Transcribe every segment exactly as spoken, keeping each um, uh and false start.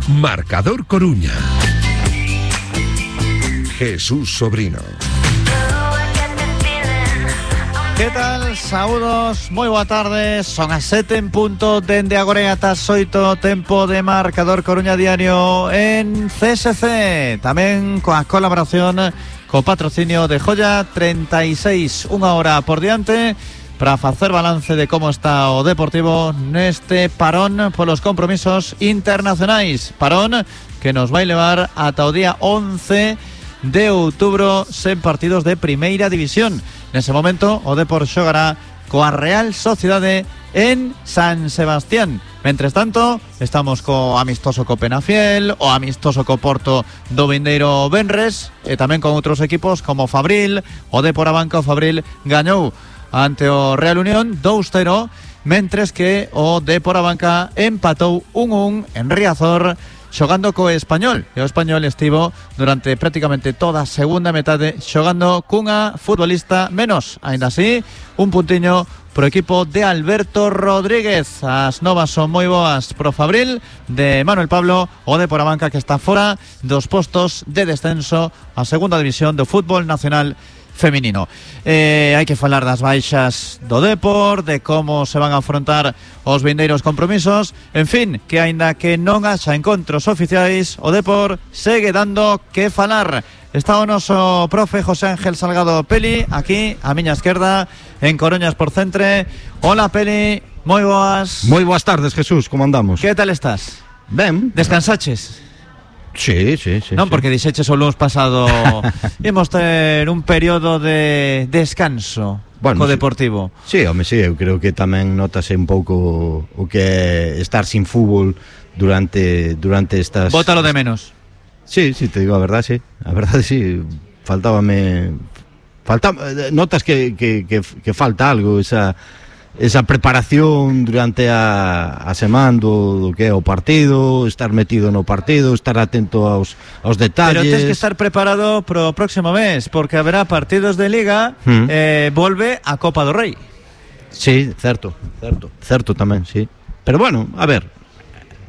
Marcador Coruña. Jesús Sobrino. Que tal? Saúdos, moi boa tarde. Son as sete en punto dende agora ata as oito, tempo de Marcador Coruña Diario en C S C. Tamén coa colaboración co patrocinio de Joya treinta e seis, unha hora por diante para facer balance de como está o Deportivo neste parón polos compromisos internacionais. Parón que nos vai levar ata o día once de outubro sen partidos de Primeira División. Nese momento o Depor xogará coa Real Sociedade en San Sebastián. Mentres tanto, estamos co amistoso co Penafiel, o amistoso co Porto do vindeiro venres, e tamén con outros equipos como Fabril. O Depor Abanca, o Fabril gañou ante o Real Unión dous cero, mentres que o Depor Abanca empatou un un en Riazor xogando co Español. E o Español estivo durante prácticamente toda a segunda metade xogando cunha futbolista menos. Ainda así, un puntiño pro equipo de Alberto Rodríguez. As novas son moi boas pro Fabril de Manuel Pablo, o Depor Abanca que está fora dos postos de descenso a segunda división do fútbol nacional feminino. Eh, hai que falar das baixas do Depor, de como se van a afrontar os vindeiros compromisos. En fin, que aínda que non haxa encontros oficiais, o Depor segue dando que falar. Está o noso profe José Ángel Salgado Peli aquí a miña esquerda en Coruñas por Centre. Hola Peli, moi boas. Moi boas tardes, Jesús, como andamos? Que tal estás? Ben. Descansaches? Sí, sí, sí. Non, sí. porque dixeches o lunes pasado imos ter un período de descanso, bueno, co Deportivo. Sí, home, sí, eu creo que tamén notase un pouco o que é estar sin fútbol durante durante estas... Bótalo de menos. Sí, sí, te digo a verdade, sí. A verdade, sí. Faltábame... Falta... Notas que, que, que, que falta algo, esa... esa preparación durante a, a semana do, do que é o partido, estar metido no partido, estar atento aos, aos detalles. Pero tens que estar preparado pro próximo mes, porque haberá partidos de Liga, mm. eh, volve a Copa do Rei. Sí, certo, certo, certo tamén, sí. Pero bueno, a ver,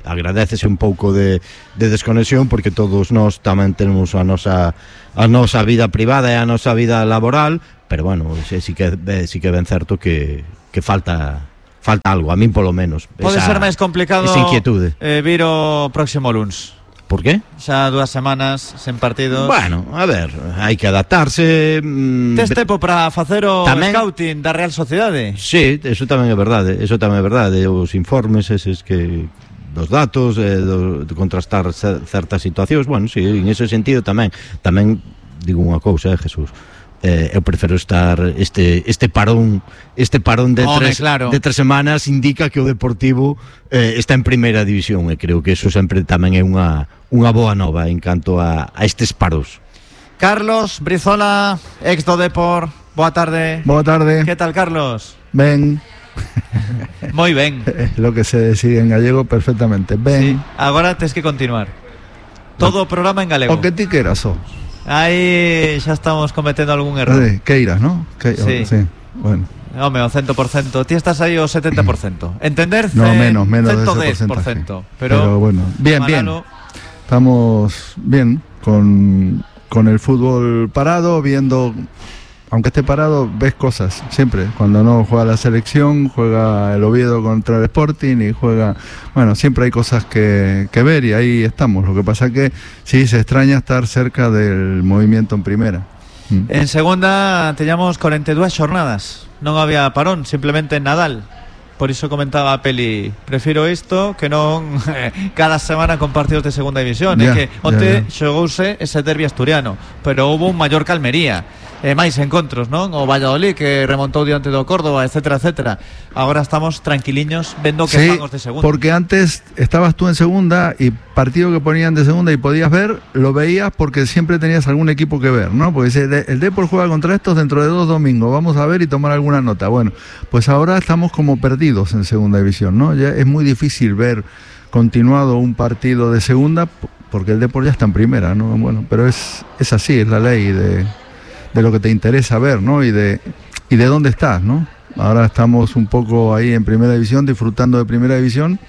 agradécese un pouco de, de desconexión, porque todos nós tamén temos a nosa, a nosa vida privada e a nosa vida laboral, pero bueno, sí, sí que, sí que ben certo que que falta falta algo, a min polo menos. Pode esa, ser máis complicado eh, vir o próximo luns. Por qué? Xa dúas semanas sen partidos. Bueno, a ver, hai que adaptarse. Mmm, Tes tempo para facer o tamén, scouting da Real Sociedade? Sí, eso tamén é verdade, eso tamén é verdade. Os informes eses que dos datos, eh, do, de contrastar certas situacións, bueno, sí, en ese sentido tamén. Tamén digo unha cousa, eh, Jesús. Eh, eu prefiro estar este este parón este parón de Home, tres claro. de tres semanas indica que o Deportivo eh, está en primeira división, e creo que eso sempre tamén é unha unha boa nova en canto a, a estes paros. Carlos Brizola, ex do Depor, boa tarde. Boa tarde. Que tal, Carlos? Ben. Moi ben. Lo que se decide en gallego perfectamente. Ben. Sí. Agora tes que continuar. Todo o programa en galego. O que ti queras, oh. Aí xa estamos cometendo algún error. Sí, queiras, ¿no? Que, sí. sí. Bueno. Home, o cento por ciento. Ti estás aí o setenta por ciento. Entender? No, menos, menos de ese ciento dez por ciento. Pero, pero bueno, bien, Manalo. bien. Estamos bien con, con el fútbol parado, viendo... Aunque esté parado, ves cosas, siempre. Cuando no juega la selección, juega el Oviedo contra el Sporting y juega... Bueno, siempre hay cosas que, que ver y ahí estamos. Lo que pasa que sí, se extraña estar cerca del movimiento en primera. Mm. En segunda teníamos cuarenta y dos jornadas. Non había parón, simplemente en Nadal. Por iso comentaba a Peli, prefiro isto que non cada semana con partidos de segunda división. É que onte xogouse ese derbi asturiano, pero houve un Mallorca Almería. E máis encontros, non? O Valladolid que remontou diante do Córdoba, etcétera, etcétera. Agora estamos tranquiliños vendo que sí, estamos de segunda. Porque antes estabas tú en segunda y partido que ponían de segunda y podías ver, lo veías porque siempre tenías algún equipo que ver, ¿no? Porque el Depor juega contra estos dentro de dos domingos, vamos a ver y tomar alguna nota. Bueno, pues ahora estamos como perdidos en segunda división, ¿no? Ya es muy difícil ver continuado un partido de segunda porque el Depor ya está en primera, ¿no? Bueno, pero es, es así, es la ley de... de lo que te interesa ver, ¿no? Y de, y de dónde estás, ¿no? Ahora estamos un poco ahí en primera división, disfrutando de primera división,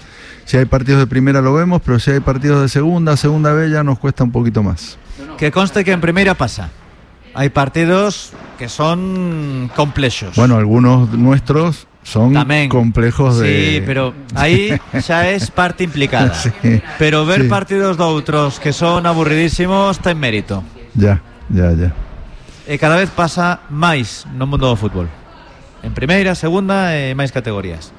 Si hay partidos de primera lo vemos, pero si hay partidos de segunda, segunda B ya nos cuesta un poquito más. Que conste que en primera pasa. Hay partidos que son complejos. Bueno, algunos nuestros son Tamén. complejos de... Sí, pero aí xa es parte implicada. Sí, pero ver sí. partidos de outros que son aburridísimos ten mérito. Ya, ya, ya. E cada vez pasa máis no mundo do fútbol. En primeira, segunda e máis categorías.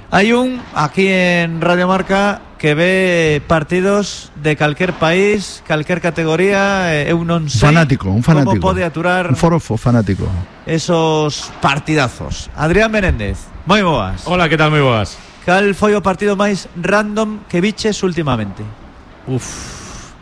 Hai un aquí en Radio Marca que ve partidos de calquer país, calquer categoría, e eu non sei Fanático, un fanático. como pode aturar Un forofo fanático. esos partidazos. Adrián Menéndez, moi boas. Hola, que tal, moi boas? Cal foi o partido máis random que viches últimamente? Uf.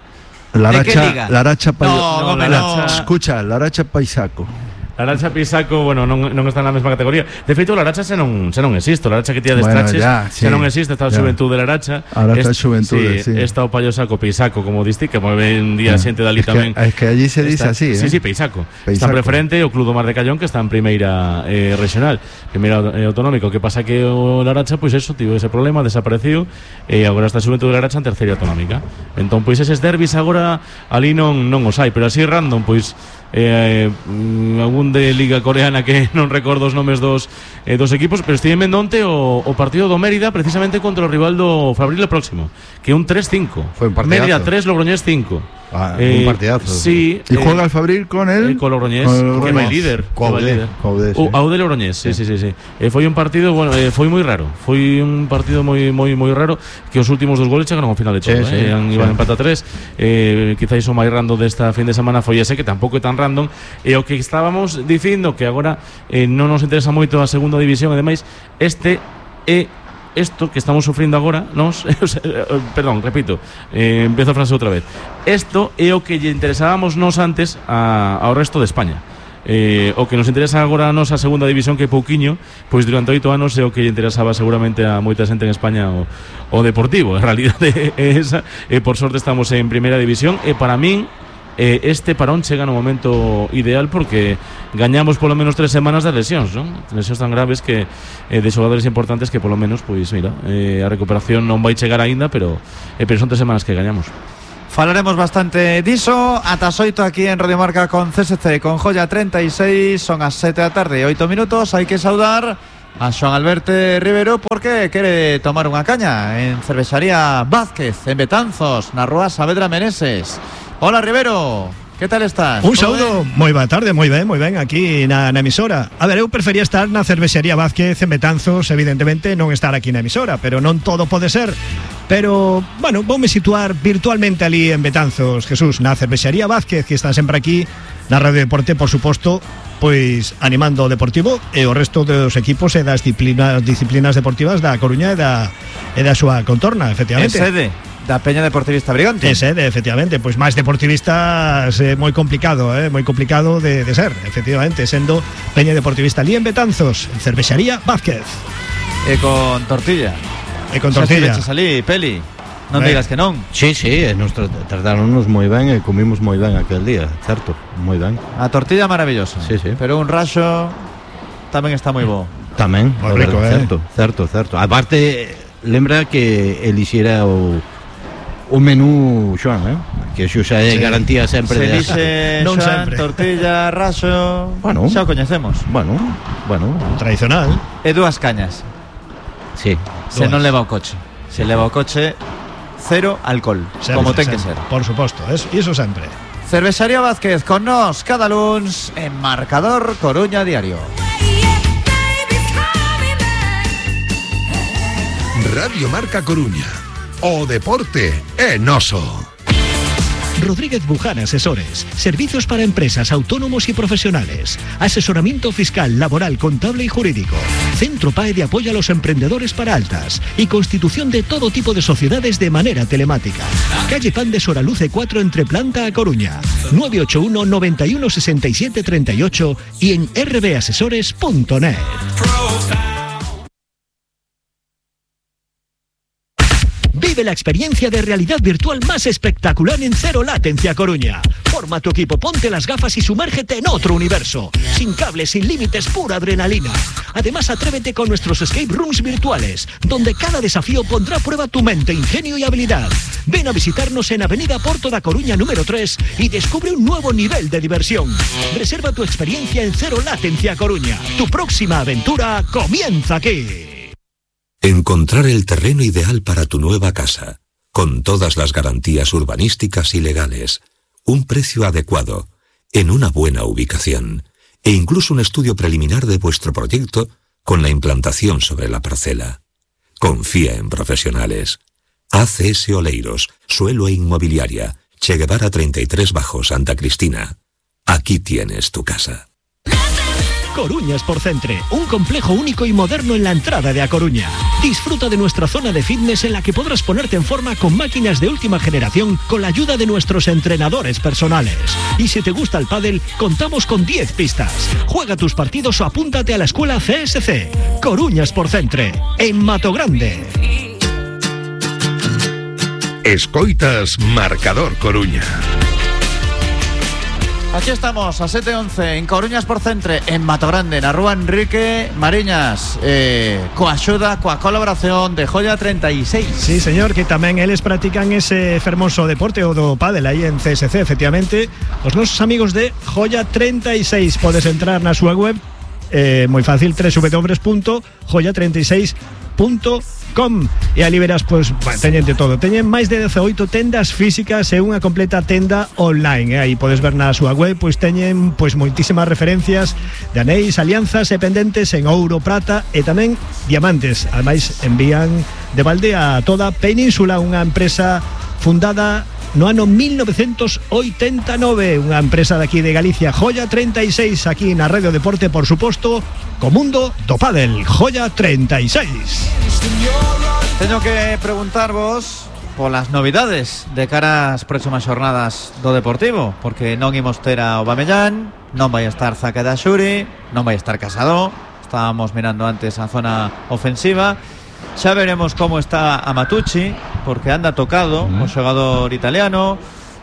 La ¿De qué racha, liga? la racha pa- No, no, la no. racha- Escucha, la racha paisaco. Laracha Pisaco, bueno, non, non está na mesma categoría. De feito, Laracha xa non, xa non existe. Laracha que tía de Bueno, estraches ya, sí, xa non existe. Está a ya. xuventude de Laracha. Ahora está a Est- xuventude, sí. Está o Payosaco Pisaco, como diste, que moi ben día Ah, xente dali es que- tamén. es que allí se dice Está- así, Sí, ¿eh? sí, Peisaco. Peisaco. Está preferente o Club do Mar de Callón, que está en primeira eh, regional, primeira eh, autonómico. Que pasa que o Laracha, pois eso, tivo ese problema, desapareciu, e agora está a xuventude de Laracha en terceira autonómica. Entón, pois eses derbis agora ali non, non os hai, pero así random, pois eh, mm, algún de Liga Coreana que non recordo os nomes dos eh, dos equipos, pero estive en onte o, o partido do Mérida precisamente contra o rival do Fabril próximo, que é un tres cinco. Foi un partidazo. Mérida tres, Logroñés cinco. Ah, un partidazo. Sí. Y eh, juega el Fabril con él. eh, con Logroñés, con el que vai Logroñés. líder. Co que vai Audé, líder. co Audé, sí. O Audé Logroñés, sí, sí, sí, sí. Eh, foi un partido, bueno, eh, foi moi raro. Foi un partido moi moi moi raro, que os últimos dos goles chegaron ao final de todo, Sí, sí, eh, sí. iban empate a tres. Eh, quizáis o máis random desta fin de semana foi ese, que tampouco é tan random. E o que estábamos dicindo, que agora eh, non nos interesa moito a segunda división, e demais, este é esto que estamos sufrindo agora, nos, o sea, perdón, repito, eh, empezo a frase outra vez. Esto é o que lle interesábamos nos antes a, ao resto de España. Eh, o que nos interesa agora a nos a segunda división, que é pouquiño, pois durante oito anos é o que lle interesaba seguramente a moita xente en España o, o Deportivo. En realidade é esa, e por sorte estamos en primeira división, e para min eh, este parón chega no momento ideal, porque gañamos polo menos tres semanas das lesións, non? Lesións tan graves que eh, de xogadores importantes que polo menos, pois mira, eh, a recuperación non vai chegar aínda, pero, eh, pero son tres semanas que gañamos. Falaremos bastante diso. Ata as oito aquí en Radio Marca con C S C, con Joya treinta y seis. Son as sete da tarde, oito minutos. Hai que saudar a Xoan Alberto Rivero, porque quere tomar unha caña en Cervexaría Vázquez, en Betanzos, na Rúa Saavedra Meneses. Hola, Rivero, que tal estás? Un saúdo, moi boa tarde, moi ben, moi ben, aquí na, na emisora. A ver, eu prefería estar na Cervexería Vázquez en Betanzos, evidentemente non estar aquí na emisora, pero non todo pode ser. Pero, bueno, voume situar virtualmente ali en Betanzos, Jesús, na Cervexería Vázquez, que está sempre aquí, na Radio Deporte, por suposto, pois animando o Deportivo e o resto dos equipos e das disciplinas, disciplinas deportivas da Coruña e da, e da súa contorna, En efectivamente. sede da Peña Deportivista Brigante. É sede, efectivamente, pois máis deportivistas é moi complicado, eh, moi complicado de, de ser, efectivamente, sendo Peña Deportivista ali en Betanzos, en Cervexaría Vázquez. E con tortilla. E con Xa tortilla. estiveches ali, Peli. Non Ben. digas que non. Sí, sí, e nos tra- trataronnos moi ben e comimos moi ben aquel día, certo, moi ben. A tortilla maravillosa. Sí, sí. Pero un raxo tamén está moi bo. Tamén, Moi a ver, rico, eh. certo, certo, certo. Aparte, lembra que elixera o o menú Xoan, eh? Que xo xa é Sí. garantía sempre Se de dixe Non Xoan, sempre. tortilla, raxo. Bueno. Xa o coñecemos. Bueno, bueno, Tradicional. E dúas cañas. sí. Se Dúas. non leva o coche. Se leva o coche, cero alcohol. Sempre, como ten que ser. sempre. Por suposto, es, iso sempre. Cervexaría Vázquez con nos cada luns en Marcador Coruña Diario. Radio Marca Coruña. O deporte é noso. Rodríguez Buján Asesores. Servicios para empresas, autónomos y profesionales. Asesoramiento fiscal, laboral, contable y jurídico. Centro P A E de apoyo a los emprendedores para altas. Y constitución de todo tipo de sociedades de manera telemática. Calle Pan de Soraluce cuatro, entre Planta a Coruña. nueve ocho uno, noventa y uno, sesenta y siete, treinta y ocho y en r b asesores punto net. Vive la experiencia de realidad virtual más espectacular en Zero Latency a Coruña. Forma tu equipo, ponte las gafas y sumérgete en otro universo. Sin cables, sin límites, pura adrenalina. Además, atrévete con nuestros escape rooms virtuales, donde cada desafío pondrá a prueba tu mente, ingenio y habilidad. Ven a visitarnos en Avenida Porto da Coruña número tres y descubre un nuevo nivel de diversión. Reserva tu experiencia en Zero Latency a Coruña. Tu próxima aventura comienza aquí. Encontrar el terreno ideal para tu nueva casa, con todas las garantías urbanísticas y legales, un precio adecuado, en una buena ubicación, e incluso un estudio preliminar de vuestro proyecto con la implantación sobre la parcela. Confía en profesionales. A C S Oleiros, Suelo e Inmobiliaria, Che Guevara treinta y tres bajo Santa Cristina. Aquí tienes tu casa. Coruña Sportcentre, un complejo único y moderno en la entrada de A Coruña. Disfruta de nuestra zona de fitness en la que podrás ponerte en forma con máquinas de última generación con la ayuda de nuestros entrenadores personales. Y si te gusta el pádel, contamos con diez pistas. Juega tus partidos o apúntate a la escuela C S C. Coruña Sportcentre, en Mato Grande. Escoitas Marcador Coruña. Aquí estamos, a sete once, en Coruña Sportcentre, en Mato Grande, na Rúa Enrique Mariñas, eh, coa axuda, coa colaboración de Joya treinta y seis. Sí, señor, que tamén eles practican ese fermoso deporte o do pádel aí en C S C, efectivamente. Os nosos amigos de Joya treinta y seis, podes entrar na súa web, eh, moi fácil, doble u doble u doble u punto joya treinta y seis punto com, e ali verás, pois, bueno, teñen de todo. Teñen máis de dezaoito tendas físicas e unha completa tenda online, e aí podes ver na súa web, pois teñen pois moitísimas referencias de anéis, alianzas e pendentes en ouro, prata e tamén diamantes. Ademais, envían de balde a toda a península, unha empresa fundada no ano mil novecentos oitenta e nove, unha empresa de aquí de Galicia, Joya treinta y seis, aquí na Radio Deporte, por suposto, co mundo do pádel, Joya treinta y seis. Teño que preguntarvos polas novidades de cara ás próximas xornadas do Deportivo, porque non imos ter a Aubameyang, non vai estar Zaka da Xuri, non vai estar Casado. Estábamos mirando antes a zona ofensiva. Xa veremos como está Amatucci, porque anda tocado mm. o xogador italiano.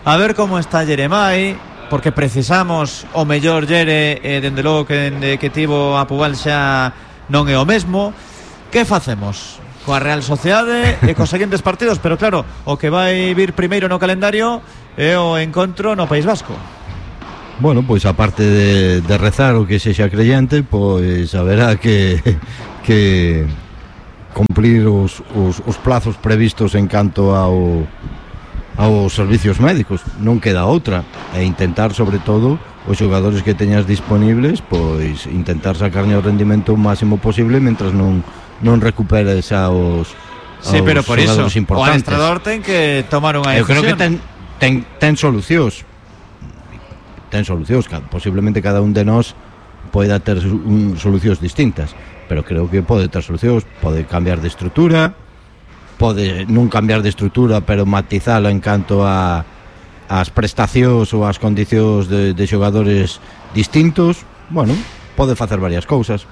A ver como está Jeremai, porque precisamos o mellor Jere, e dende logo que, de, que tivo a Pubal xa non é o mesmo. Que facemos coa Real Sociedade e cos seguintes partidos? Pero claro, o que vai vir primeiro no calendario é o encontro no País Vasco. Bueno, pois aparte de, de rezar o que sexa creyente, pois haberá que que cumplir os, os, os plazos previstos en canto ao aos servicios médicos. Non queda outra, e intentar, sobre todo, os xogadores que teñas disponibles, pois intentar sacarlle o rendimento máximo posible mentras non non recuperes aos, sí, aos pero por xogadores iso, importantes. O adestrador ten que tomar unha decisión. Eu creo que ten, ten, ten solucións. Ten solucións, posiblemente cada un de nós poida ter un, solucións distintas, pero creo que pode ter solucións, pode cambiar de estrutura, pode non cambiar de estrutura, pero matizala en canto a as prestacións ou as condicións de, de xogadores distintos. Bueno, pode facer varias cousas.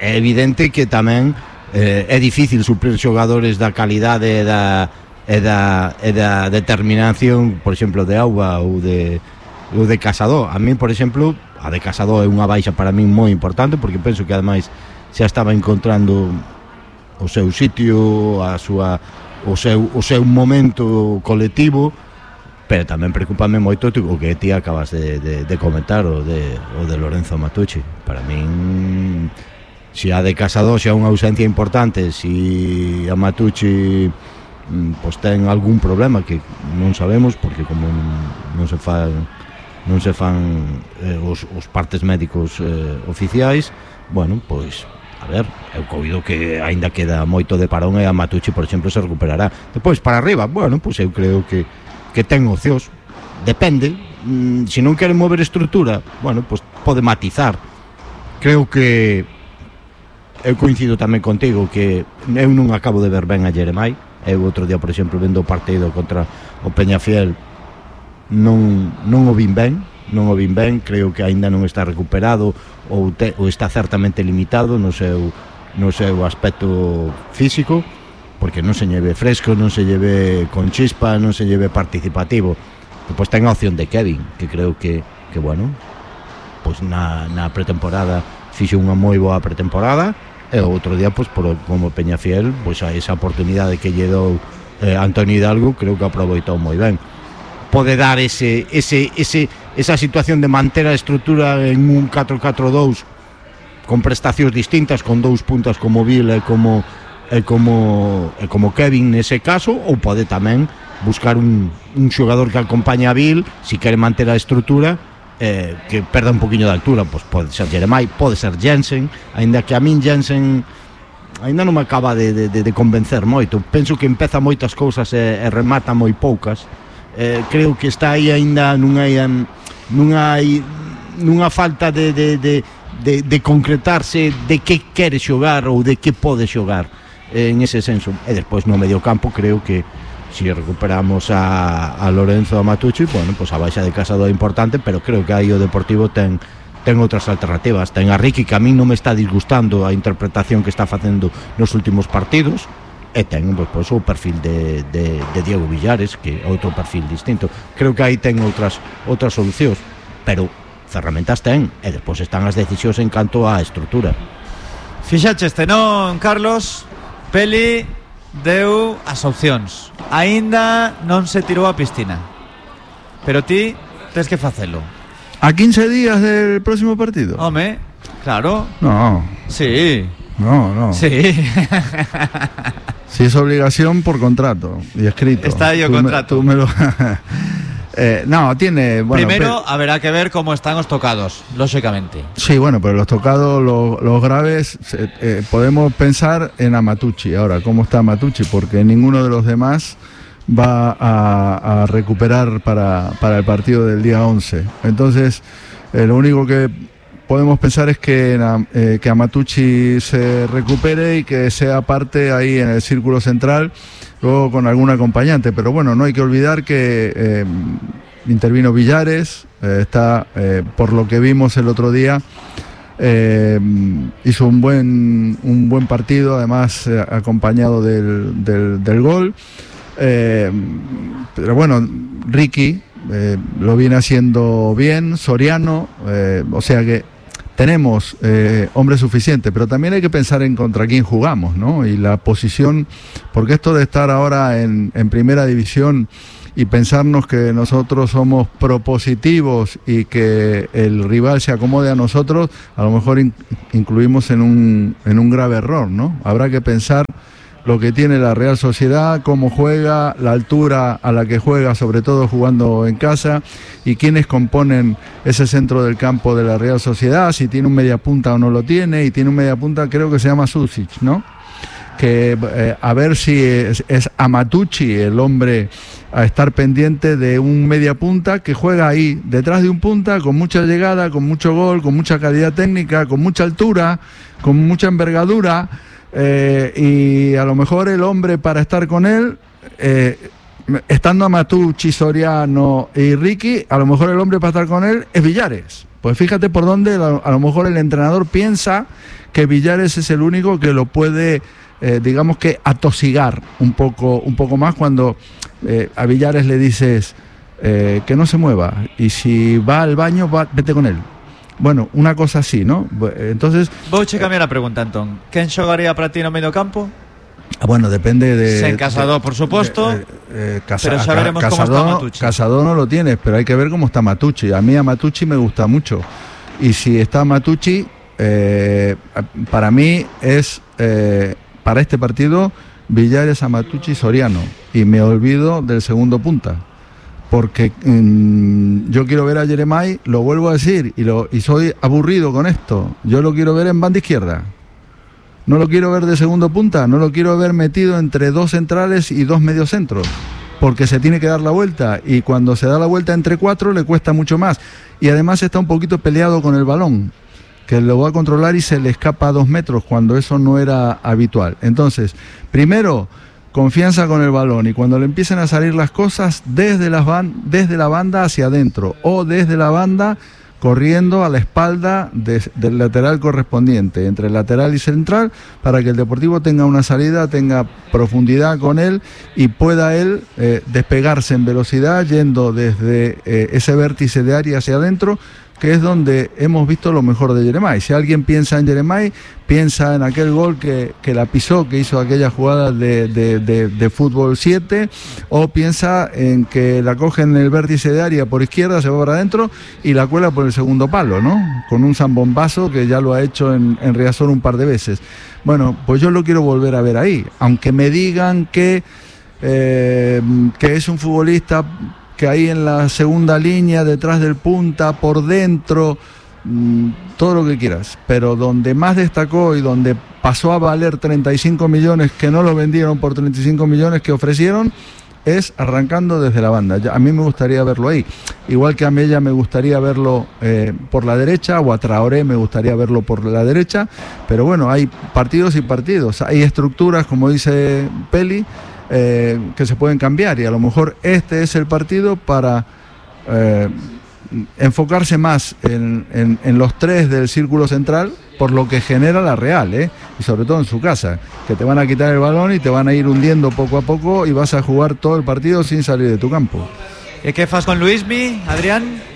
É evidente que tamén eh, é difícil suplir xogadores da calidade e da, e da, e da determinación, por exemplo, de Auba ou de, ou de Casado. A mí, por exemplo, a de Casado é unha baixa para mí moi importante, porque penso que ademais xa estaba encontrando o seu sitio, a súa, o seu, o seu momento colectivo, pero tamén preocupame moito o que ti acabas de, de, de comentar, o de, o de Lorenzo Amatucci. Para min, se a de Casado xa unha ausencia importante, se a Amatucci pues ten algún problema que non sabemos, porque como non se fan non se fan eh, os, os partes médicos eh, oficiais, bueno, pois a ver, eu coido que aínda queda moito de parón e a Amatucci, por exemplo, se recuperará. Depois para arriba, bueno, pois eu creo que que ten opcións. Depende, mm, se non quere mover estrutura, bueno, pois pode matizar. Creo que eu coincido tamén contigo que eu non acabo de ver ben a Jeremai. Eu outro día, por exemplo, vendo o partido contra o Peñafiel, non, non o vin ben, non o vin ben, creo que aínda non está recuperado ou, te, ou está certamente limitado no seu, no seu aspecto físico. porque non se lleve fresco, non se lleve con chispa, non se lleve participativo. Depois ten a opción de Kevin, que creo que, que bueno, pois na, na pretemporada fixo unha moi boa pretemporada, e o outro día, pois, por, como Peñafiel, pois a esa oportunidade que lle dou eh, Antonio Hidalgo, creo que aproveitou moi ben. Pode dar ese, ese, ese, esa situación de manter a estrutura en un catro catro dous con prestacións distintas, con dous puntas como Vil e como, e como, e como Kevin nese caso, ou pode tamén buscar un, un xogador que acompañe a Vil, si quere manter a estrutura, eh, que perda un poquinho de altura, pois pode ser Jeremai, pode ser Jensen, aínda que a min Jensen aínda non me acaba de, de, de convencer moito. Penso que empeza moitas cousas e, e remata moi poucas. Eh, creo que está aí aínda non hai non hai nunha falta de, de, de, de, de concretarse de que quere xogar ou de que pode xogar, eh, en ese senso. E despois no medio campo creo que si recuperamos a, a Lorenzo a Matucci, bueno, pues a baixa de Casado é importante, pero creo que aí o Deportivo ten ten outras alternativas. Ten a Ricky, que a mí non me está disgustando a interpretación que está facendo nos últimos partidos, e ten pues, pues, o perfil de, de, de Diego Villares, que é outro perfil distinto. Creo que aí ten outras outras solucións, pero ferramentas ten, e despois están as decisións en canto á estrutura. Fixaxeste, non, Carlos? Peli deu as opcións. Aínda non se tirou a piscina, pero ti tes que facelo. ¿A quince días del próximo partido? Home, claro. No. Sí. No, no. Sí. Si es obligación por contrato y escrito. Está ahí el contrato. Me, tú me lo... eh, no, tiene... Bueno, primero pero... habrá que ver cómo están los tocados, lógicamente. Sí, bueno, pero los tocados, los, los graves, eh, eh, podemos pensar en Amatucci. Ahora, ¿cómo está Amatucci? Porque ninguno de los demás va a, a recuperar para, para el partido del día once. Entonces, eh, lo único que podemos pensar es que, eh, que Amatucci se recupere y que sea parte ahí en el círculo central, luego con algún acompañante. Pero bueno, no hay que olvidar que eh, intervino Villares, eh, está, eh, por lo que vimos el otro día, eh, hizo un buen, un buen partido, además eh, acompañado del, del, del gol. Eh, pero bueno, Ricky eh, lo viene haciendo bien, Soriano, eh, o sea que tenemos eh, hombres suficientes, pero también hay que pensar en contra quién jugamos, ¿no? Y la posición, porque esto de estar ahora en, en primera división y pensarnos que nosotros somos propositivos y que el rival se acomode a nosotros, a lo mejor in, incluimos en un, en un grave error, ¿no? Habrá que pensar lo que tiene la Real Sociedad, cómo juega, la altura a la que juega, sobre todo jugando en casa, y quiénes componen ese centro del campo de la Real Sociedad, si tiene un mediapunta o no lo tiene, y tiene un mediapunta, creo que se llama Susic, ¿no? Que eh, a ver si es, es Amatucci el hombre a estar pendiente de un mediapunta que juega ahí, detrás de un punta, con mucha llegada, con mucho gol, con mucha calidad técnica, con mucha altura, con mucha envergadura. Eh, y a lo mejor el hombre para estar con él, eh, estando Amatucci, Soriano y Ricky, a lo mejor el hombre para estar con él es Villares. Pues fíjate por dónde a lo mejor el entrenador piensa que Villares es el único que lo puede, eh, digamos que atosigar un poco, un poco más cuando eh, a Villares le dices eh, que no se mueva, y si va al baño, va, vete con él. Bueno, una cosa así, ¿no? Entonces... Vou che cambiar a pregunta, Antón. Quen xogaría para ti no medio campo? Bueno, depende de... Sen Casado, por supuesto. De, eh, casa, pero ya veremos Casado, cómo está Matucci. Casado no lo tienes, pero hay que ver cómo está Matucci. A mí a Matucci me gusta mucho. Y si está Matucci, eh, para mí es, eh, para este partido, Villares, Amatucci, Soriano. Y me olvido del segundo punta. Porque mmm, yo quiero ver a Jeremai, lo vuelvo a decir, y, lo, y soy aburrido con esto. Yo lo quiero ver en banda izquierda. No lo quiero ver de segundo punta, no lo quiero ver metido entre dos centrales y dos mediocentros, porque se tiene que dar la vuelta, y cuando se da la vuelta entre cuatro le cuesta mucho más. Y además está un poquito peleado con el balón, que lo va a controlar y se le escapa a dos metros, cuando eso no era habitual. Entonces, primero... confianza con el balón, y cuando le empiecen a salir las cosas desde, las ban- desde la banda hacia adentro o desde la banda corriendo a la espalda de, del lateral correspondiente, entre el lateral y central, para que el Deportivo tenga una salida, tenga profundidad con él y pueda él eh, despegarse en velocidad yendo desde eh, ese vértice de área hacia adentro, que es donde hemos visto lo mejor de Yeremay. Si alguien piensa en Yeremay, piensa en aquel gol que, que la pisó, que hizo aquella jugada de, de, de, de fútbol siete, o piensa en que la coge en el vértice de área por izquierda, se va para adentro y la cuela por el segundo palo, ¿no? Con un zambombazo que ya lo ha hecho en, en Riazor un par de veces. Bueno, pues yo lo quiero volver a ver ahí, aunque me digan que, eh, que es un futbolista que ahí en la segunda línea, detrás del punta, por dentro, mmm, todo lo que quieras, pero donde más destacó y donde pasó a valer treinta y cinco millones, que no lo vendieron por treinta y cinco millones que ofrecieron, es arrancando desde la banda. A mí me gustaría verlo ahí, igual que a Mella me gustaría verlo eh, por la derecha, o a Traoré me gustaría verlo por la derecha, pero bueno, hay partidos y partidos, hay estructuras, como dice Peli, Eh, que se pueden cambiar, y a lo mejor este es el partido para eh, enfocarse más en, en, en los tres del círculo central, por lo que genera la Real, ¿eh? Y sobre todo en su casa, que te van a quitar el balón y te van a ir hundiendo poco a poco y vas a jugar todo el partido sin salir de tu campo. ¿E que fas con Luismi, Adrián?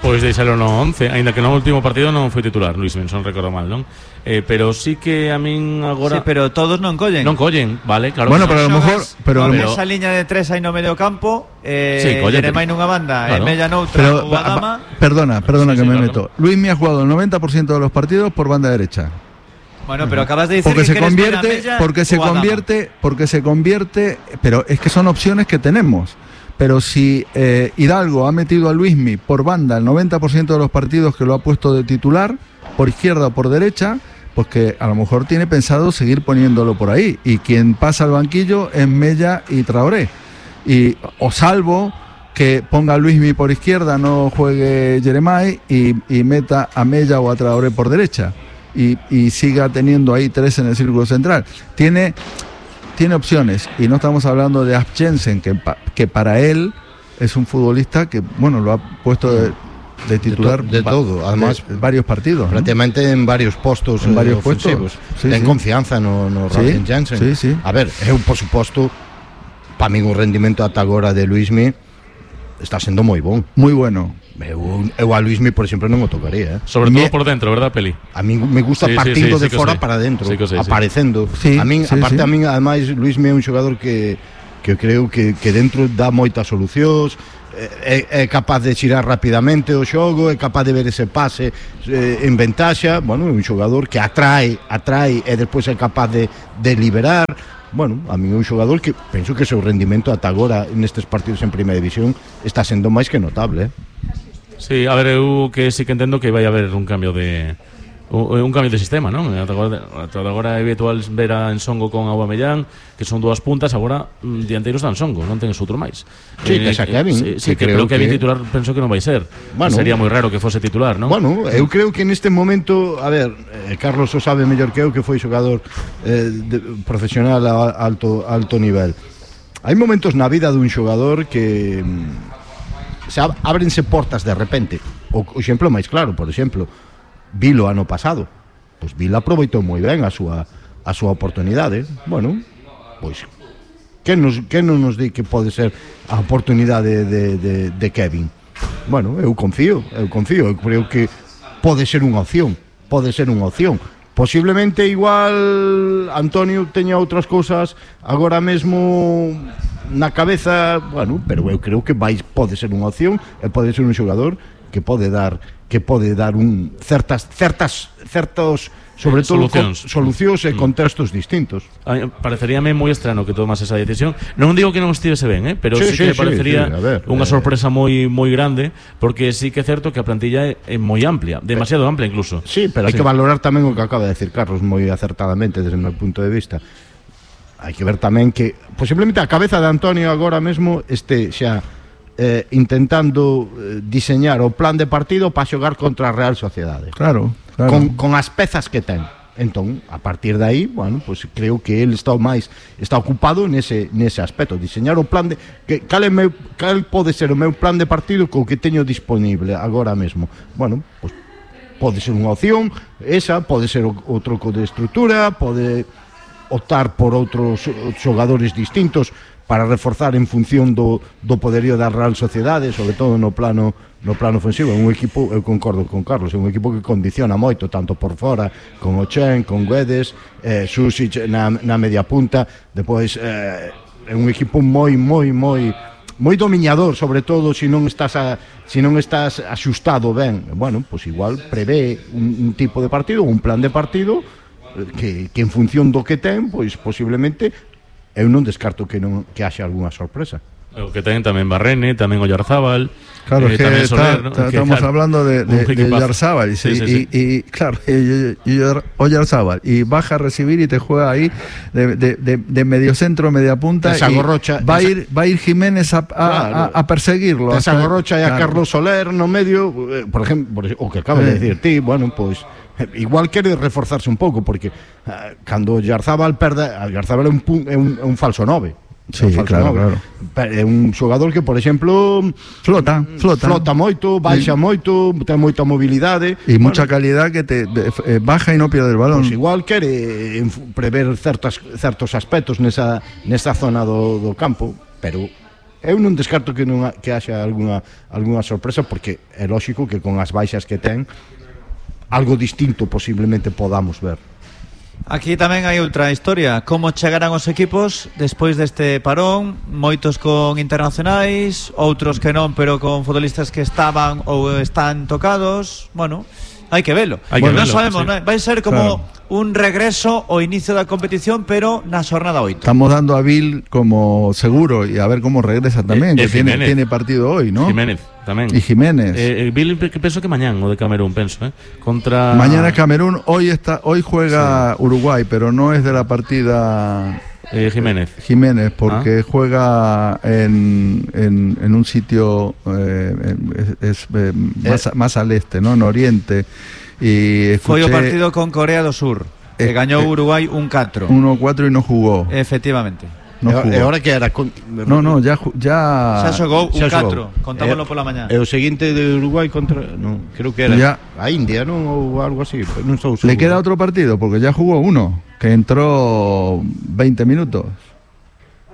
Pois deixalo no once, aínda que no último partido non foi titular, Luis Benson, recordo mal, non? Eh, pero sí que a min agora... Sí, pero todos non collen. Non collen, vale, claro. Bueno, pero a lo mejor... Pero con pero... esa liña de tres aí no medio campo, eh, sí, Yeremay nunha banda, claro. E Mella noutra, pero, ou Adama... Perdona, perdona sí, que sí, me claro. meto. Luismi ha jugado el noventa por ciento de los partidos por banda derecha. Bueno, pero acabas de decir porque que se convierte, porque se convierte, porque se convierte, pero es que son opciones que tenemos. Pero si eh, Hidalgo ha metido a Luismi por banda el noventa por ciento de los partidos que lo ha puesto de titular, por izquierda o por derecha, pues que a lo mejor tiene pensado seguir poniéndolo por ahí. Y quien pasa al banquillo es Mella y Traoré. Y, o salvo que ponga a Luismi por izquierda, no juegue Yeremay y, y meta a Mella o a Traoré por derecha. Y, y siga teniendo ahí tres en el círculo central. Tiene... Tiene opciones, y no estamos hablando de Asp Jensen, que, que para él es un futbolista que, bueno, lo ha puesto de, de titular de, to, de todo, además de, varios partidos, prácticamente, ¿no? En varios postos, en eh, varios ofensivos. Sí, ten sí. confianza no, no Ryan sí, Jensen. Sí, sí. A ver, eu, por suposto, para mí un rendimento ata agora de Luismi está sendo moi bon. Muy bueno. Eu, eu a Luismi, por exemplo, non o tocaría, eh? Sobre todo por dentro, verdad, Peli? A mí me gusta sí, partindo sí, sí, de sí fora sí. para dentro, sí, sí, aparecendo. Sí, a min, sí, aparte sí. a min, ademais, Luismi é un xogador que que eu creo que, que dentro dá moitas solucións, é, é capaz de xirar rapidamente o xogo, é capaz de ver ese pase eh, en ventaxa. Bueno, é un xogador que atrae, atrae e despois é capaz de, de liberar. Bueno, a mí é un xogador que penso que o seu rendimento ata agora nestes partidos en Primeira División está sendo máis que notable, eh? Sí, a ver, eu que sí que entendo que vai haber un cambio de un, un cambio de sistema, non? Ata agora, ata agora é habitual ver a Ensongo con Aubameyang, que son dúas puntas, agora mm, dianteiros dan Ensongo, non tenes outro máis. Sí, que xa Kevin, sí, sí, que que creo pero Kevin que... titular penso que non vai ser. Bueno, sería moi raro que fose titular, non? Bueno, eu creo que neste momento, a ver, eh, Carlos o sabe mellor que eu, que foi xogador eh, de, profesional a alto alto nivel. Hai momentos na vida dun xogador que mm, se ab- ábrense portas de repente. O, o exemplo máis claro, por exemplo, Vilo ano pasado, pois Vilo aproveitou moi ben a súa a súa oportunidade. Bueno, pois que nos que non nos di que pode ser a oportunidade de, de, de Kevin. Bueno, eu confío, eu confío, eu creo que pode ser unha opción, pode ser unha opción. Posiblemente igual Antonio teña outras cousas agora mesmo na cabeza, bueno, pero eu creo que vai pode ser unha opción e pode ser un xogador que pode dar que pode dar un certas certas certos sobre eh, todo solucións, con, solucións e contextos distintos. A mí pareceríame moi estrano que tomas esa decisión. Non digo que non estivese ben, eh, pero sí, Sí, sí que sí, me parecería sí, sí, ver, unha eh, sorpresa moi moi grande, porque sí que é certo que a plantilla é, é moi amplia, demasiado amplia incluso. Sí, pero hai sí. que valorar tamén o que acaba de decir Carlos moi acertadamente desde o meu punto de vista. Hai que ver tamén que posiblemente a cabeza de Antonio agora mesmo este xa eh, intentando eh, diseñar o plan de partido para xogar contra a Real Sociedade. Claro, claro. Con, con as pezas que ten. Entón, a partir de aí, bueno, pues creo que ele está máis está ocupado nese nese aspecto, diseñar o plan de que cal é meu, cal pode ser o meu plan de partido co que teño disponible agora mesmo. Bueno, pues pode ser unha opción, esa pode ser o, o troco de estrutura, pode optar por outros xogadores distintos para reforzar en función do, do poderío da Real Sociedade, sobre todo no plano no plano ofensivo. É un equipo, eu concordo con Carlos, é un equipo que condiciona moito, tanto por fora, con Ochen, con Guedes, eh, Susic na, na media punta, depois eh, é un equipo moi, moi, moi moi dominador, sobre todo se non estás a, se non estás axustado ben. Bueno, pois igual prevé un, un tipo de partido, un plan de partido que, que en función do que ten, pois posiblemente eu non descarto que non que haxa algunha sorpresa. O que ten tamén Barrene, tamén Oyarzábal. Claro, eh, que tamén está, Soler, ¿no? está, que, estamos claro, hablando de, de, de Oyarzábal y, sí, sí, y, sí. y, y claro, y, y Oyarzábal y baja a recibir y te juega ahí de, de, de, de medio centro, media punta, y Gorrocha, va a ir va a ir Jiménez a, a, claro, a, a perseguirlo. Esa Gorrocha e a claro. Carlos Soler no medio, eh, por exemplo, por, o que acabas Eh. de decir ti, bueno, pois pues, igual quere reforzarse un pouco porque uh, cando Oyarzábal perde, Oyarzábal é un, pun, é un, é un falso nove. Sí, claro, claro. É un xogador que, por exemplo, flota, flota, flota moito, baixa sí. moito, ten moita mobilidade e bueno, mucha calidad que te de, eh, baja e non pierde el balón. Pues igual quere eh, prever certas, certos aspectos nesa, nesa zona do, do campo, pero eu non descarto que non que haxa algunha, algunha sorpresa, porque é lógico que con as baixas que ten algo distinto posiblemente podamos ver. Aquí tamén hai outra historia, como chegarán os equipos despois deste parón, moitos con internacionais, outros que non, pero con futbolistas que estaban ou están tocados. Bueno, hai que velo. Hai que bueno, velo, non sabemos, sí. ¿no? Vai ser como claro. un regreso ao inicio da competición, pero na xornada oito. Estamos dando a Bill como seguro y a ver cómo regresa tamén, Eh, que eh, tiene, Jiménez. tiene partido hoy, ¿no? Jiménez tamén. Y Jiménez. Eh, Bill, que penso que mañán o de Camerún, penso, eh, contra Mañana Camerún, hoy está, hoy juega sí. Uruguay, pero no es de la partida eh, Jiménez. Jiménez, porque ah. juega en, en, en un sitio eh, es, es eh, más, eh. más al este, ¿no? En Oriente. Y escuché, foi o partido con Corea do Sur, que eh, gañou eh, Uruguay un catro. uno cuatro y no jugó. Efectivamente. No e ahora que era con... No, no, ya ya xa xogou un xa catro, xogou. contámoslo E, pola mañá. E o seguinte de Uruguay contra, no, creo que era Ya. a India, non, ou algo así, non estou seguro. Le queda otro partido porque ya jugó uno, que entró veinte minutos.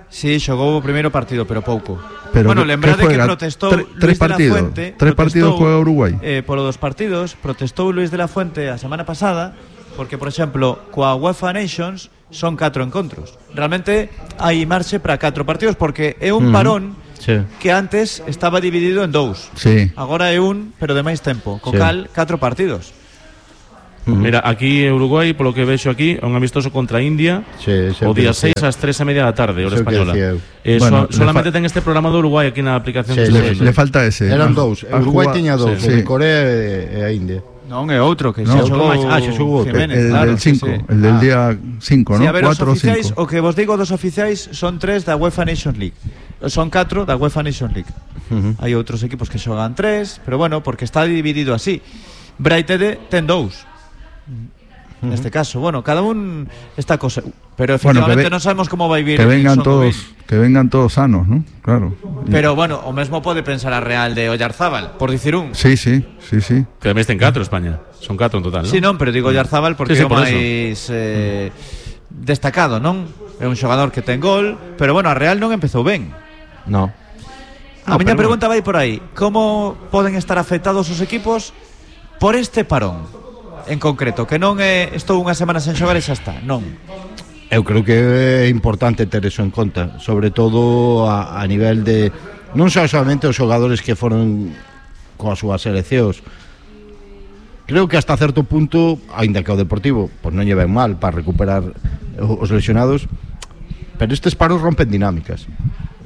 Sí, xogou o primeiro partido, pero pouco. Pero bueno, que- lembrade que que juega protestou tre- Luis tres de la partidos. Fuente. Tres partidos protestou, juega Uruguay. Eh, polo dos partidos, protestou Luis de la Fuente a semana pasada, porque, por exemplo, coa UEFA Nations son catro encontros. Realmente hai marxe para catro partidos, porque é un Mm. parón Sí. que antes estaba dividido en dous. Sí. Agora é un, pero de máis tempo. Co Sí. cal, catro partidos. Mira, aquí en Uruguay, polo que vexo aquí, é un amistoso contra India, Sí, sí, o día sí. seis ás tres e media da tarde, hora Eso que española. decía eu. Eh, Bueno, so, solamente le fa- ten este programa de Uruguay aquí na aplicación. Sí, que sí, estou Le, vendo. le falta ese. Eran Ah, dous, ha Uruguay jugado- tiña dous, sí. o de Corea e, e a India. Non é outro que No, xa outro xogou máis. Ah, xa xogou outro. Jiménez, El claro, del sí, cinco, sí. el del Ah. día cinco, Sí, ¿no? a ver, os cuatro o oficiais, cinco. o que vos digo dos oficiais son tres da UEFA Nations League. Son catro da UEFA Nations League. Uh-huh. Hai outros equipos que xogan tres, pero bueno, porque está dividido así. Braitede ten dous. Neste caso, bueno, cada un está cosa, pero Bueno, que efectivamente ve- non sabemos como vai vir Que vengan Son todos, Gobel. que vengan todos sanos, ¿no? Claro. Pero bueno, o mesmo pode pensar a Real de Oyarzábal, por dicir un. Sí, sí, sí, sí. Que además ten catro España. Son catro en total, ¿no? Sí, non, pero digo Oyarzábal porque Sí, sí, é o por eso. máis eh, destacado, non? É un xogador que ten gol, pero bueno, a Real non empezou ben. No. A No, miña pero pregunta vai por aí. Como poden estar afectados os equipos por este parón en concreto? Que non é estou unha semana sen xogar e xa está. Non. Eu creo que é importante ter eso en conta, sobre todo a, a nivel de non só solamente os xogadores que foron coas súas seleccións. Creo que hasta certo punto, aínda que o Deportivo pois non lle ven mal para recuperar os lesionados, pero estes paros rompen dinámicas.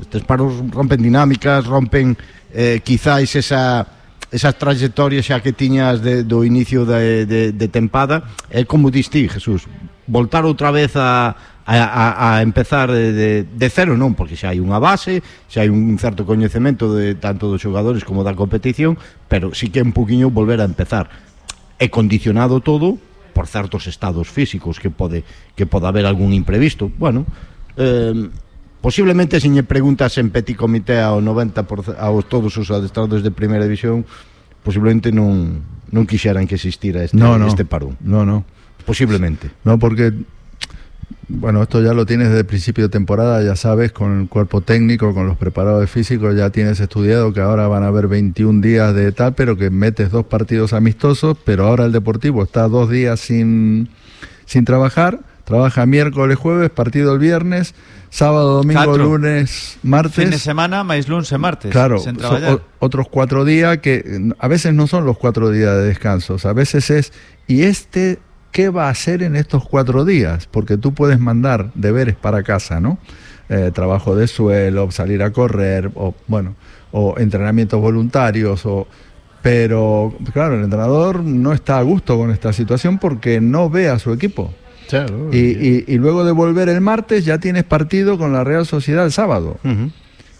Estes paros rompen dinámicas, rompen eh, quizáis esa esas trayectorias xa que tiñas de, do inicio de, de, de tempada. É como distí, Jesús, voltar outra vez a, a, a, a empezar de, de, de cero, non, porque xa hai unha base, xa hai un certo coñecemento de tanto dos xogadores como da competición, pero sí que é un poquinho volver a empezar. É condicionado todo por certos estados físicos que pode que pode haber algún imprevisto. Bueno, eh, posiblemente se lle preguntas en petit comité ao noventa por ciento aos todos os adestradores de primeira división, posiblemente non non quixeran que existira este, no, no, este parón. No, no. Posiblemente. No, porque bueno, esto ya lo tienes desde el principio de temporada, ya sabes, con el cuerpo técnico, con los preparadores físicos, ya tienes estudiado que ahora van a haber veintiún días de tal, pero que metes dos partidos amistosos, pero ahora el Deportivo está dos días sin, sin trabajar, trabaja miércoles, jueves, partido el viernes, sábado, domingo, Catro. lunes, martes. Fin de semana, máis lunes e martes. Claro, sen son traballar. o- otros cuatro días que a veces no son los cuatro días de descansos, a veces es, y este... ¿qué va a hacer en estos cuatro días? Porque tú puedes mandar deberes para casa, ¿no? Eh, trabajo de suelo, salir a correr, o bueno, o entrenamientos voluntarios, o pero claro, el entrenador no está a gusto con esta situación porque no ve a su equipo. Claro. Y, y, y luego de volver el martes ya tienes partido con la Real Sociedad el sábado. Uh-huh.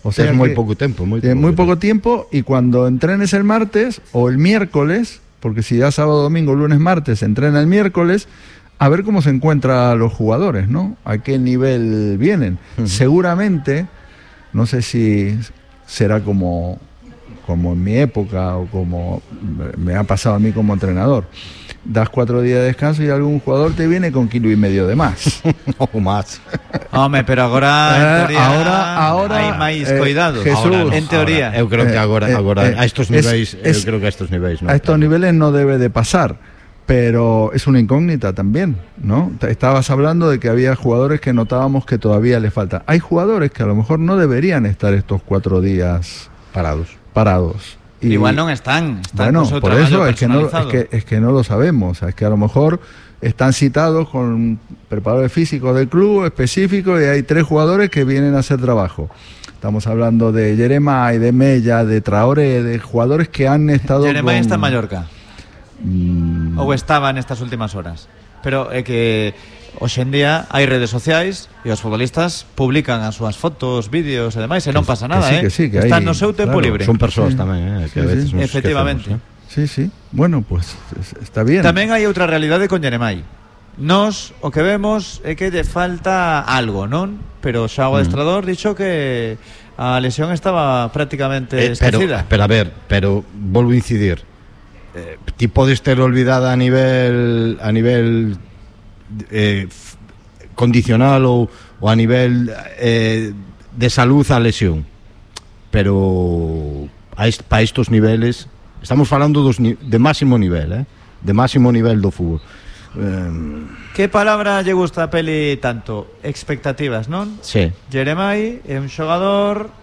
O sea, es muy que poco tiempo, muy tiene poco, muy poco tiempo, y cuando entrenes el martes o el miércoles, porque si ya sábado, domingo, lunes, martes, se entrena el miércoles, a ver cómo se encuentran los jugadores, ¿no? A qué nivel vienen. Uh-huh. Seguramente, no sé si será como, como en mi época o como me ha pasado a mí como entrenador. Das cuatro días de descanso y algún jugador te viene con kilo y medio de más. O más. Home, pero agora en teoría Eh, ahora, ahora, hai máis eh, cuidados. Jesús, Ahora no, en teoría. Ahora, eu creo que agora, Eh, agora eh, a estos es- niveis, es- eu creo que a estos niveis, ¿no? A estos niveles no debe de pasar, pero es una incógnita también, ¿no? Te- Estabas hablando de que había jugadores que notábamos que todavía les falta. Hay jugadores que a lo mejor no deberían estar estos cuatro días parados. parados. Y, Igual non están, están bueno, con seu por traballo eso es que, no, es, personalizado. que, es que no lo sabemos. Es que a lo mejor están citados con preparadores físicos del club específico y hay tres jugadores que vienen a hacer trabajo. Estamos hablando de Jeremai, de Mella, de Traoré, de jugadores que han estado Jeremai con... está en Mallorca. Mm, Ou estaba nestas últimas horas. Pero é que hoxe en día hai redes sociais e os futbolistas publican as súas fotos, vídeos e demais, e non pasa nada, sí, eh? que sí, que Están hay, no seu tempo claro, libre. Son persoas Sí. tamén, eh, que Sí, a veces sí. nos Efectivamente. esquecemos, Sí, sí. Bueno, pues es- está bien. Tamén hai outra realidade con Jeremai. Nos o que vemos é que lle falta algo, non? Pero xa o adestrador dixo que a lesión estaba prácticamente eh. Eh, pero, esquecida. pero a ver, pero volvo a incidir. Eh, ti podes ter olvidada a nivel a nivel eh, f- condicional ou, ou a nivel eh, de salud a lesión, pero a est, para estos niveles estamos falando dos ni, de máximo nivel, eh? de máximo nivel do fútbol. Eh, Que palabra lle gusta a Peli tanto? Expectativas, non? sí. Jeremai é un xogador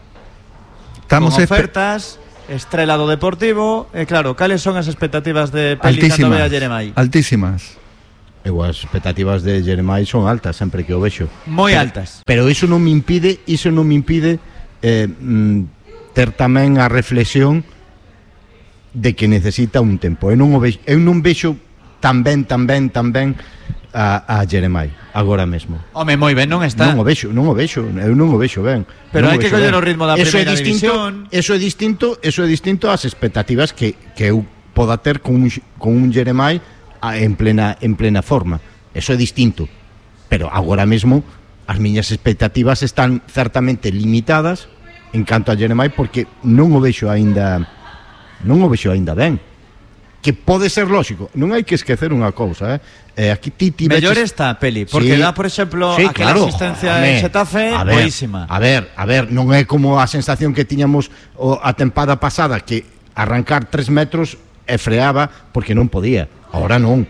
Estamos con espe- ofertas, estrela do Deportivo, e claro, cales son as expectativas de Peli cando altísimas. ve a Jeremai? Altísimas. Eu as expectativas de Jeremai son altas sempre que o vexo. Moi Pero- altas. Pero iso non me impide, iso non me impide eh, mm, ter tamén a reflexión de que necesita un tempo. Eu non o vexo, eu non vexo tan ben, tan ben, tan ben a, a Jeremai agora mesmo. Home, moi ben, non está. Non o vexo, non o vexo, eu non o vexo ben. Pero Non hai o que vexo coller ben. o ritmo da Eso é primeira distinto, división. Eso é distinto, eso é distinto ás expectativas que, que eu poda ter con un, con un Jeremai a- en plena en plena forma. Eso é distinto. Pero agora mesmo as miñas expectativas están certamente limitadas en canto a Jeremai porque non o vexo aínda non o vexo aínda ben. Que pode ser lógico, non hai que esquecer unha cousa, eh? Eh, aquí ti ti Mellor veches- está Peli, porque Sí. dá, por exemplo, Sí, aquela claro, asistencia home, en Xetafe a ver, boísima. A ver, a ver, non é como a sensación que tiñamos o, a tempada pasada que arrancar tres metros e freaba porque non podía. Ahora non.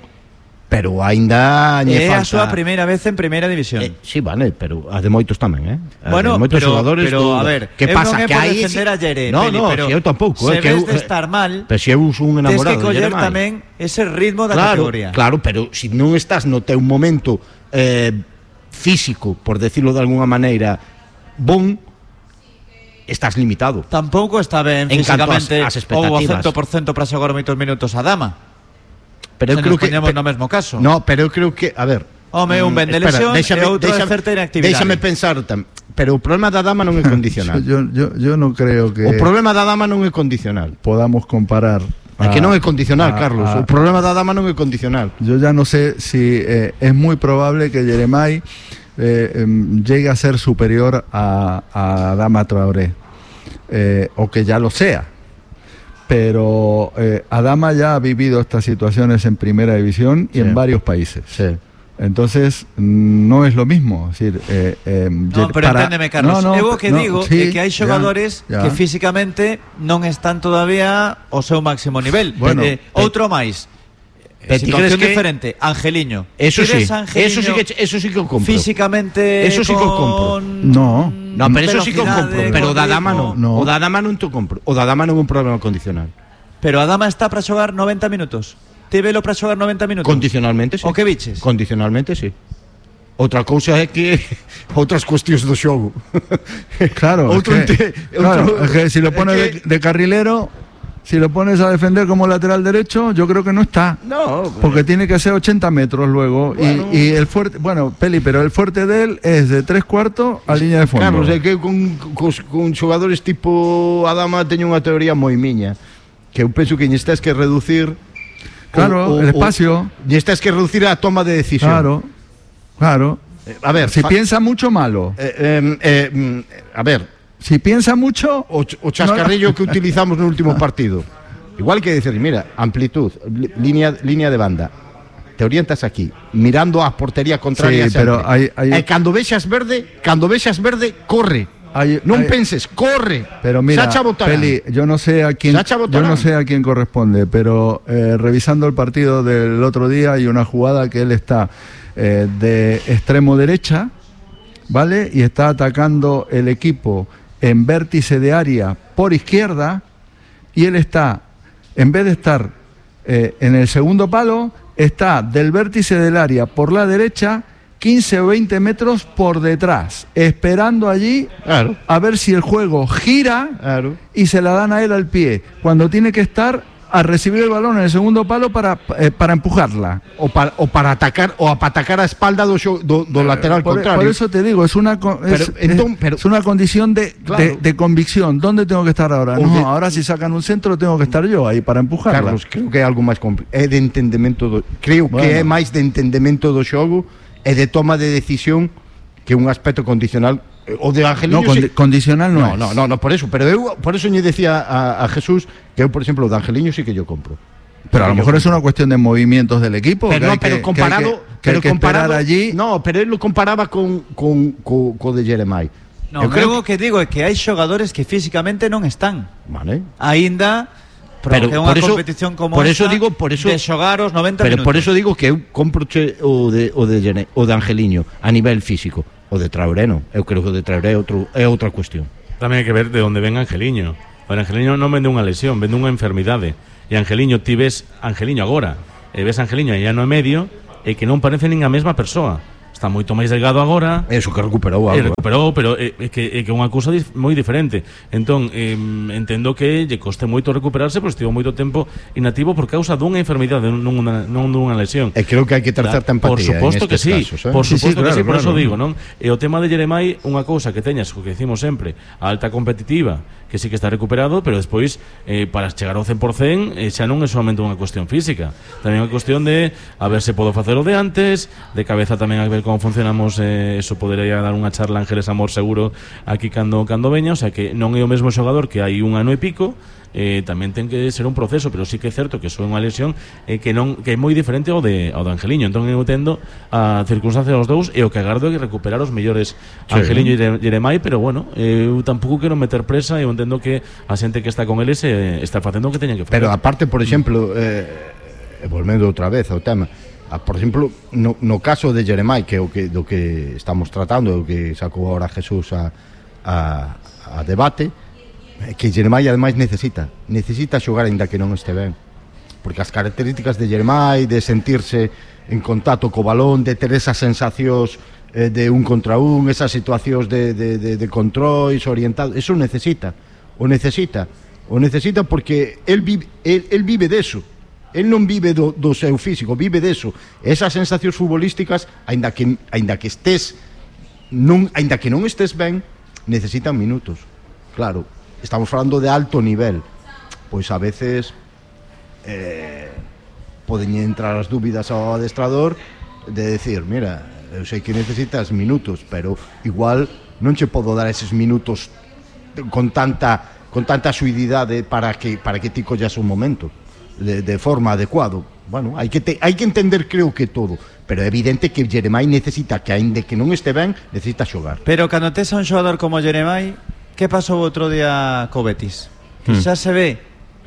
Pero aínda lle É a falta. súa primeira vez en primeira división. Eh, sí, vale, pero a de moitos tamén, eh? A Bueno, de moitos pero- xogadores pero, do- a ver, que eu pasa non é que por aí defender a Yere, No, Peli, no, pero si eu tampouco, se eh, que ves eu, de estar mal, pero si eu son un Tens enamorado que coller de Jeremai. tamén ese ritmo da Claro, categoría. claro, pero si non estás no teu momento eh, físico, por decirlo de alguna maneira, bon, estás limitado. Tampouco está ben En canto físicamente ás- ás ou ao expectativas. cento por cento para xogar moitos minutos a Dama. Pero eu Se creo nos que poñemos pe- no mesmo caso. No, pero eu creo que, a ver, Home, un ben de mm, espera, lesión déxame- e outro de déxame- certa inactividade. Déxame pensar tam, pero o problema da dama non é condicional. Yo, yo, yo no creo que O problema da dama non é condicional. podamos comparar É que non é condicional, a, Carlos. a, o problema da Adama non é condicional. Yo ya no sé si eh, es muy probable que Yeremay eh, eh, llegue a ser superior a, a Adama Traoré, eh, o que ya lo sea. Pero eh, Adama ya ha vivido estas situaciones en primera división y sí. en varios países. Sí. Entonces no es lo mismo. Es decir, eh, eh, no, pero para... enténdeme, Carlos. No, no, eu que no, digo sí, é que hai xogadores ya, ya. que físicamente non están todavía ao seu máximo nivel. Bueno, eh, outro máis. Situación que... diferente, Angeliño. Eso sí, Angeliño eso sí que eso sí que o compro. Físicamente eso sí que o compro. No, no, pero eso sí que o compro, pero o da Adama non. No. O da Adama non te compro. O da Adama non é un problema condicional. Pero Adama está para xogar noventa minutos. Te velo para xogar noventa minutos. Condicionalmente, sí. O que biches? Condicionalmente, sí. Outra cousa é que outras cuestións do xogo. Claro, outro es que, ente, claro, outro, es que si lo pones que... de, de carrilero, si lo pones a defender como lateral derecho, yo creo que no está. No, pero... porque tiene que ser ochenta metros luego. Bueno. Y, y el fuerte, bueno, Peli, pero el fuerte de él es de tres cuartos a línea de fondo. Carlos, é que con, con, con xogadores tipo Adama teño unha teoría moi miña, que eu penso que lle estás que reducir. Claro, o, o, el espacio. Lle estás que reducir a toma de decisión. Claro, claro. Eh, a ver, si piensa mucho, malo. Eh, eh, eh, a ver. Si piensa mucho, o, ch o chascarrillo no. que utilizamos no último partido. Igual que decir, mira, amplitud, línea, línea de banda. Te orientas aquí, mirando a portería contraria. Sí, pero hay, hay... E cando vexas verde, cando vexas verde, corre. Hay, non hay... penses, corre. Pero mira, Peli, yo no sé a quién, yo no sé a quién corresponde, pero eh, revisando el partido del otro día hay una jugada que él está eh, de extremo derecha, ¿vale? Y está atacando el equipo en vértice de área por izquierda, y él está, en vez de estar eh, en el segundo palo, está del vértice del área por la derecha quince o veinte metros por detrás, esperando allí claro. a ver si el juego gira claro. y se la dan a él al pie, cuando tiene que estar a recibir el balón en el segundo palo para, eh, para empujarla o para, o para atacar o para atacar a espalda do, do, do lateral por, contrario. Por eso te digo, es una, es, pero, entonces, pero, es una condición de, claro. de, de convicción. ¿Dónde tengo que estar ahora? No, de, ahora si sacan un centro tengo que estar yo aí para empujarla. Carlos, creo que é algo máis complicado. É de entendemento do, creo bueno. que é máis de entendemento do xogo e de toma de decisión que un aspecto condicional. O de Angeliño no, condi sí. condicional no, no, no, no, no, por eso, pero eu por eso lle decía a, a Jesús que eu, por exemplo, o de Angeliño sí que yo compro. Pero a lo mejor es una cuestión de movimientos del equipo. Pero no, pero que, comparado, que hay que, pero que comparado allí. No, pero él lo comparaba con con con, con de Yeremay. No, eu creo que, que digo é que hai xogadores que físicamente non están. Vale. Aínda pero unha competición como por esta eso digo, por eso, de xogar os noventa pero minutos. Pero por eso digo que eu compro o de o de Gene, o de Angeliño a nivel físico. O de Traoré non. Eu creo que o de Traoré é, outro, é outra cuestión. Tamén hai que ver de onde ven Angeliño. O Angeliño non vende unha lesión, vende unha enfermidade. E Angeliño, ti ves Angeliño agora, e ves Angeliño aí no medio, e que non parece nin a mesma persoa. Está moito máis delgado agora. Eso que recuperou algo. E recuperou, pero é, é que é que unha cousa dif moi diferente. Entón, eh, entendo que lle coste moito recuperarse, porque estivo moito tempo inactivo por causa dunha enfermidade, non unha, non dunha lesión. E creo que hai que ter certa empatía. Por suposto que sí, casos, eh? por suposto sí, sí, que claro, sí, por claro, eso digo, non? E o tema de Yeremay, unha cousa que teñas, o que decimos sempre, a alta competitiva, que sí que está recuperado, pero despois eh, para chegar ao cen por cen eh, xa non é solamente unha cuestión física, tamén é unha cuestión de a ver se podo facer o de antes, de cabeza tamén a ver como funcionamos. Eh, eso podería dar unha charla Ángeles Amor seguro aquí cando cando veña, o sea que non é o mesmo xogador que hai un ano e pico, eh, tamén ten que ser un proceso, pero sí que é certo que son unha lesión eh, que non que é moi diferente ao de ao de Angeliño. Entón eu tendo a circunstancia dos dous e o que agardo é que recuperar os mellores sí, Angeliño e Yeremay, pero bueno, eu tampouco quero meter presa e eu entendo que a xente que está con eles eh, está facendo o que teña que facer. Pero aparte, por exemplo, eh, volvendo outra vez ao tema, por exemplo, no, no caso de Yeremay, que é o que, do que estamos tratando, o que sacou ahora Jesús a, a, a debate, que Yeremay ademais necesita necesita xogar aínda que non este ben, porque as características de Yeremay, de sentirse en contacto co balón, de ter esas sensacións eh, de un contra un, esas situacións de, de, de, de controis orientados, eso necesita o necesita o necesita porque él vive, él, él vive deso. El non vive do, do seu físico, vive deso. Esas sensacións futbolísticas, aínda que aínda que estés non aínda que non estés ben, necesitan minutos. Claro, estamos falando de alto nivel. Pois a veces eh, poden entrar as dúbidas ao adestrador de decir, mira, eu sei que necesitas minutos, pero igual non che podo dar eses minutos con tanta con tanta suididade para que para que ti collas un momento de, de forma adecuado. Bueno, hai que te, hai que entender, creo que todo, pero é evidente que Jeremai necesita, que aínda que non este ben, necesita xogar. Pero cando tes a un xogador como Jeremai, que pasou outro día co Betis? Que Hmm. xa se ve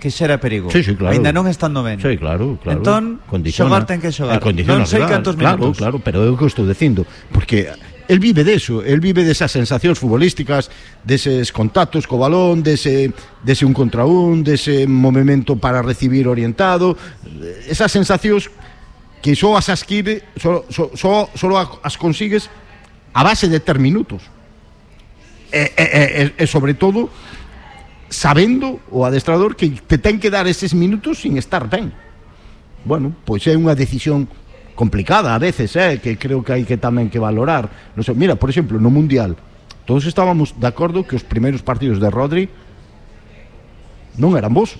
que xa era perigo. Sí, sí, claro. Aínda non estando ben. Sí, claro, claro. Entón, Condiciona. xogar ten que xogar. Eh, condiciona, Non sei claro, cantos claro, minutos. Claro, pero é o que estou dicindo, porque el vive deso, el vive desas sensacións futbolísticas, deses contactos co balón, dese, dese un contra un, dese movimento para recibir orientado, esas sensacións que só as adquire, só, só, só, só as consigues a base de ter minutos. E, e, e, e sobre todo sabendo o adestrador que te ten que dar eses minutos sin estar ben. Bueno, pois é unha decisión complicada a veces, eh, que creo que hai que tamén que valorar. Non sei, mira, por exemplo, no Mundial todos estábamos de acordo que os primeiros partidos de Rodri non eran bons,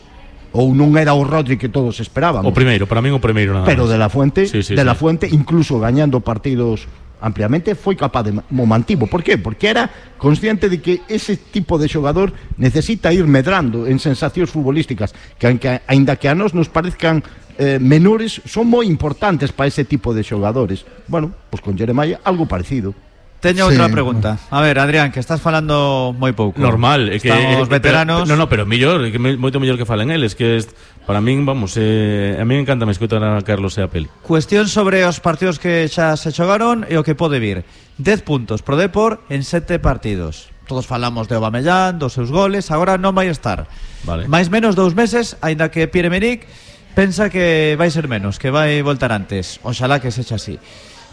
ou non era o Rodri que todos esperábamos. O primeiro, para min o primeiro nada Pero máis. de la Fuente, Sí, sí, de la sí. Fuente incluso gañando partidos ampliamente, foi capaz de mo mantivo. Por qué? Porque era consciente de que ese tipo de xogador necesita ir medrando en sensacións futbolísticas que, que aínda que a nós nos parezcan eh, menores, son moi importantes para ese tipo de xogadores. Bueno, pois con Jeremai algo parecido. Teño Sí. outra pregunta. A ver, Adrián, que estás falando moi pouco. Normal, é que Estamos eh, veteranos. Pero, no, no, pero mellor, é que me- moito mellor que falen eles, que es, para min, vamos, eh, a mí me encanta me escoitar a Carlos e a Peli. Cuestión sobre os partidos que xa se xogaron e o que pode vir. dez puntos pro Depor en sete partidos. Todos falamos de Aubameyang, dos seus goles, agora non vai estar. Vale. Mais menos dous meses, aínda que Pierre-Emerick pensa que vai ser menos, que vai voltar antes. Oxalá que sexa así.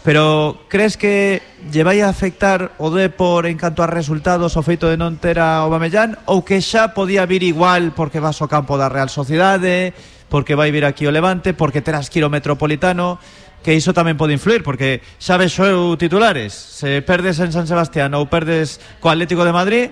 Pero crees que lle vai a afectar o Depor en canto a resultados o feito de non ter a Aubameyang, ou que xa podía vir igual porque vas ao campo da Real Sociedade, porque vai vir aquí o Levante, porque terás que ir ao Metropolitano, que iso tamén pode influir, porque xa vexo eu titulares, se perdes en San Sebastián ou perdes co Atlético de Madrid,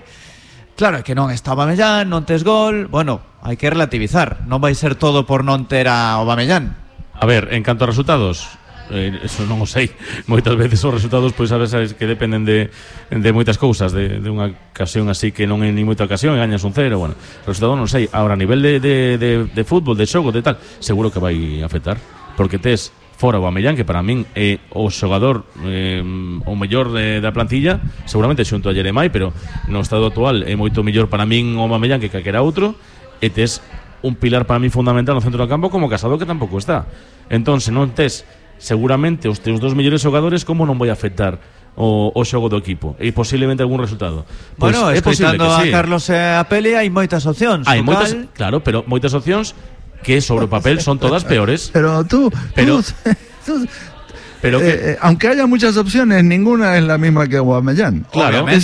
claro, é que non está Aubameyang, non tes gol, bueno, hai que relativizar, non vai ser todo por non ter a Aubameyang. A ver, en canto a resultados, eh, eso non o sei. Moitas veces os resultados, pois sabes, sabes que dependen de, de moitas cousas, de, de unha ocasión así que non é ni moita ocasión e gañas un cero, bueno, resultado non sei. Ahora, a nivel de, de, de, de fútbol, de xogo, de tal, seguro que vai afectar, porque tes fora o Aubameyang, que para min é o xogador eh, o mellor de, da plantilla, seguramente xunto a Jeremai, pero no estado actual é moito mellor para min o Aubameyang que calquera outro, e tes un pilar para mí fundamental no centro do campo como Casado, que tampouco está. Entón, se non tes seguramente os teus dos mellores xogadores, como non vai afectar o, o xogo do equipo e posiblemente algún resultado? Pois Bueno, é posible escoitando que a sí. Carlos e a Peli, hai moitas opcións. Hai o moitas, cal- claro, pero moitas opcións que sobre o papel son todas peores. Pero tú, Pero- tú- tú- Pero que eh, eh, aunque haya muchas opciones, ninguna es la misma que Aubameyang. Claro. Obviamente.